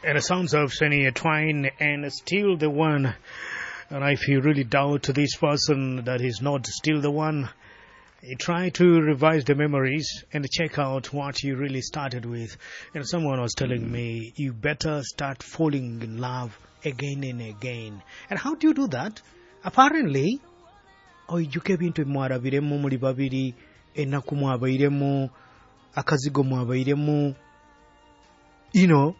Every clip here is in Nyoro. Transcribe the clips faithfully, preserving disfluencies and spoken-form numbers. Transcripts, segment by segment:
And the sounds of Shania Twain and Still the One. And if you really doubt this person that is not still the one, you try to revise the memories and check out what you really started with. And someone was telling me, you better start falling in love again and again. And how do you do that? Apparently, oijuka ebintu mwarabiremu muli babiri ennaku mwabairemu akazigo mwabairemu you know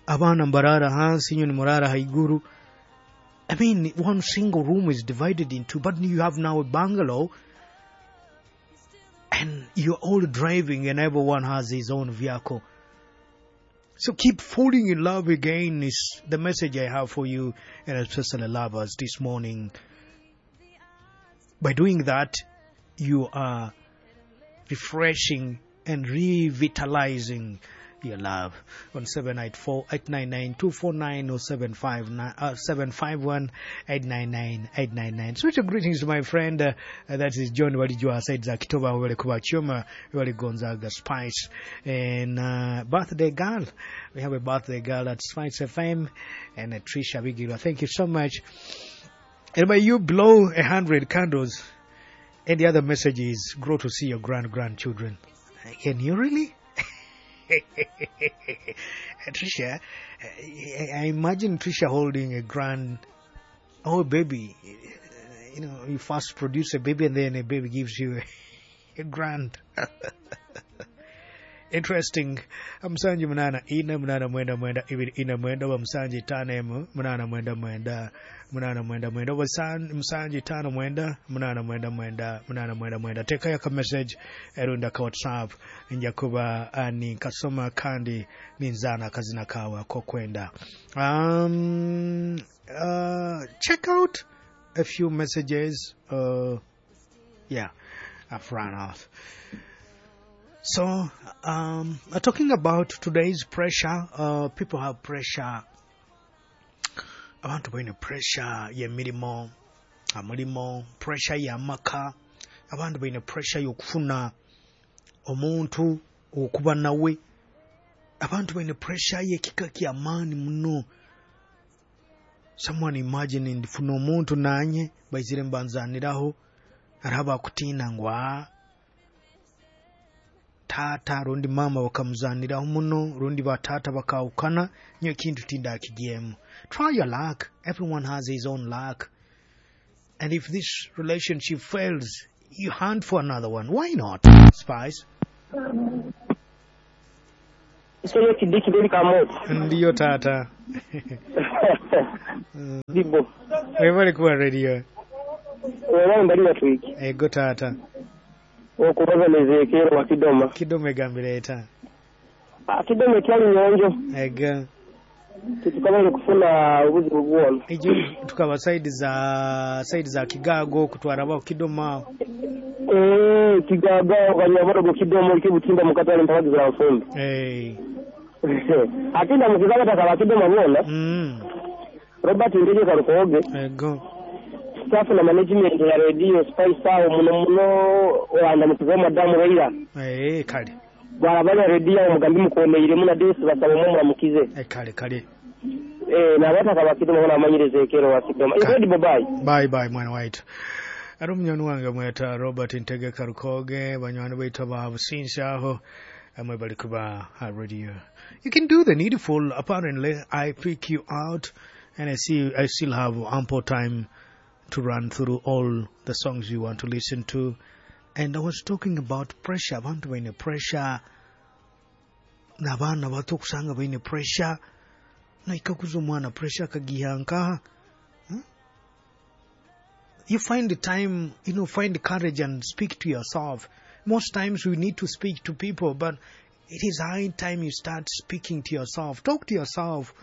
abaana mbarara hansi inywe nimurara haiguru I mean, one single room is divided in two, but you have now a bungalow and you're all driving and everyone has his own vehicle. So keep falling in love again is the message I have for you and especially lovers this morning. By doing that, you are refreshing and revitalizing your love. On seven eight four eight nine nine two four nine or seven five nine uh, seven five one eight nine nine eight nine nine. Special greetings to my friend uh, that is John Walijua said Zakitoba wale kuba Chuma wale Gonzaga Spice and uh, birthday girl. We have a birthday girl at Spice F M and uh, Trisha Bigila. Thank you so much. And may you blow a hundred candles. And the other message is grow to see your grand grandchildren. Can you really? Trisha, I imagine Trisha holding a grand, oh baby, you know, you first produce a baby and then a baby gives you a, a grand. Interesting. Msanji munana ina munana mwenda mwenda ibiri ina mwenda wa msanji tano emu munana mwenda mwenda munana mwenda mwenda wa msanji tano mwenda munana mwenda mwenda munana mwenda mwenda. Teka yaka message erunda ka WhatsApp njakuba ani kasoma kandi ninzana kazina kawa kokwenda. Um, uh, check out a few messages. Uh, yeah, I've run out. So, um, talking about today's pressure, uh, people have pressure. Abantu balina pressure y'emirimu, amulimo, pressure y'amaka. Abantu balina pressure y'okufuna omuntu okuba nawe. Abantu balina pressure y'ekika ky'amaani muno. Someone imagine ndifuna omuntu nanye baizire mbanzaniraho araba akutiina ngu aa tata rundi mama bakamuzaniraho muno rundi batata bakawukana nyo kintu tindakigyemu. Try your luck. Everyone has his own luck, and if this relationship fails, you hunt for another one. Why not? Spice ndiyo tata. Bibo webale kuba radio webale twiki ego tata okubaza nezekero wa Kidoma. Kidoma egambira Ah, Kidoma ekyali nyonjo. Ega tutukabale kufuna obuzibu bwona. Ejo tukaba side za side za Kigago kutwara ba Kidoma. Eh, Kigago kanyaboro Kidoma kibutimba mukatale mpaka za mfumbi. Eh. Atinda mukizaba takaba Kidoma bwona. Mm. Robert Ndege Karukoge. Ego. Staff na management ya radio Spice awo muno muno wanda mukizo madamu Raila. Eh, kale. Bwarabanya radio omugambi mukomeire muna desi basaba mu muramukize. Eh, kale kale. Eh, na bataka bakidoma bona amanyirize ekero wa Kidoma. Incredible bye. Bye bye mwana waitu. Ari omunywani wange mweta Robert Ntege Karukoge banywani baitu ba Businsi aho amwe bali kuba radio. You can do the needful. Apparently I pick you out and I see I still have ample time to run through all the songs you want to listen to. And I was talking about pressure. Abantu baine pressure. N'abaana bato okusanga baine pressure. Naikakuza omwana pressure akagiha nkaha. Hmm? You find the time, you know, find the courage and speak to yourself. Most times we need to speak to people, but it is high time you start speaking to yourself. Talk to yourself.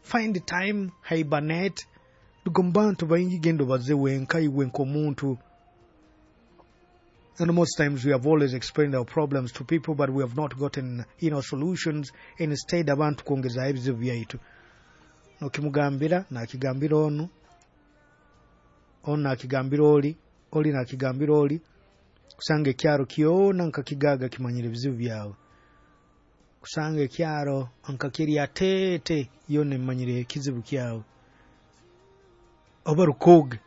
Find the time, hibernate. Tugomba baingi gendo baze wenka iwe nk'omuntu. And most times we have always explained our problems to people, but we have not gotten, you know, solutions. Instead, abantu kwongeza ebizibu byaitu. Nokimugambira, nakigambira onu, onu nakigambira oli, oli nakigambira oli, kusanga ekyaro kyona nka Kigaga kimanyire ebizibu byawe. Kusanga ekyaro nka kiri ateete yona emanyire ekizibu kyawe. Oba Rukoge.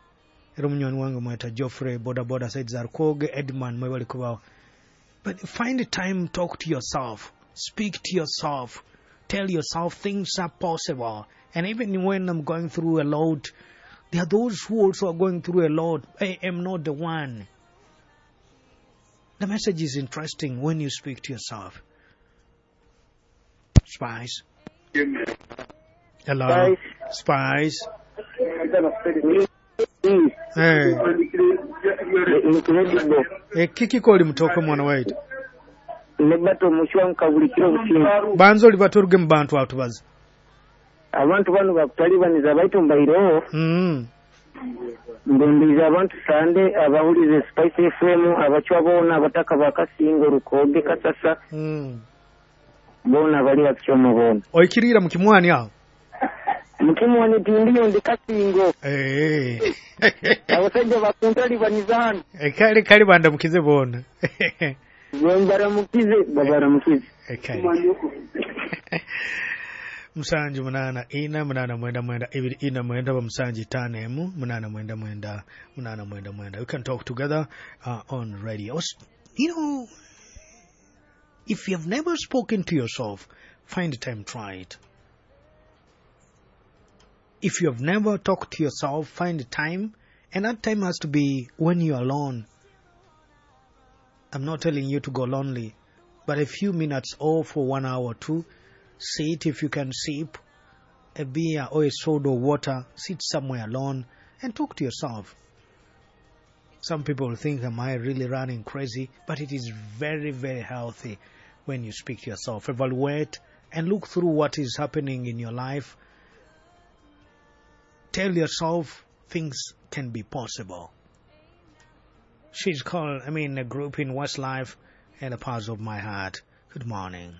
Era omunywani wange mweta Geoffrey boda boda side za Rukoge, Edman mwebale kubaho. But find a time, talk to yourself, speak to yourself, tell yourself things are possible. And even when I'm going through a lot, there are those who also are going through a lot. I am not the one. The message is interesting when you speak to yourself. Spice. Hello. Spice. Hey. Eh, kiki koli mutoko mwana waitu? Nebato omushwanka buli kiro obusinga. Banza oli baturuge mu bantu atubaza. Abantu bano bakutalibaniza baitu mbaireho. Mm. Ndondiza abantu sande abahulize Spice F M abachwa bona abataka bakasingo Rukoge Kasasa. Mm. Bona bali bakichoma bona. Oikirira mu kimwani aho? Mukimwani tindiyo ndi Kasingo. Eh. Abasajja bakuntalibaniza hano. Eh, kale kale bandamukize bona. Baramukize babaramukize. Eh, kale. Musanju munana ina munana mwenda mwenda ibiri ina mwenda wa musanju tano emu munana mwenda mwenda munana mwenda mwenda. We can talk together uh, on radio. You know, if you have never spoken to yourself, find the time, try it. If you have never talked to yourself, find the time, and that time has to be when you're alone. I'm not telling you to go lonely, but a few minutes or for one hour or two, sit if you can sip a beer or a soda or water, sit somewhere alone and talk to yourself. Some people think, am I really running crazy? But it is very, very healthy when you speak to yourself. Evaluate and look through what is happening in your life. Tell yourself things can be possible. She's called, I mean, a group in Westlife and a part of my heart. Good morning.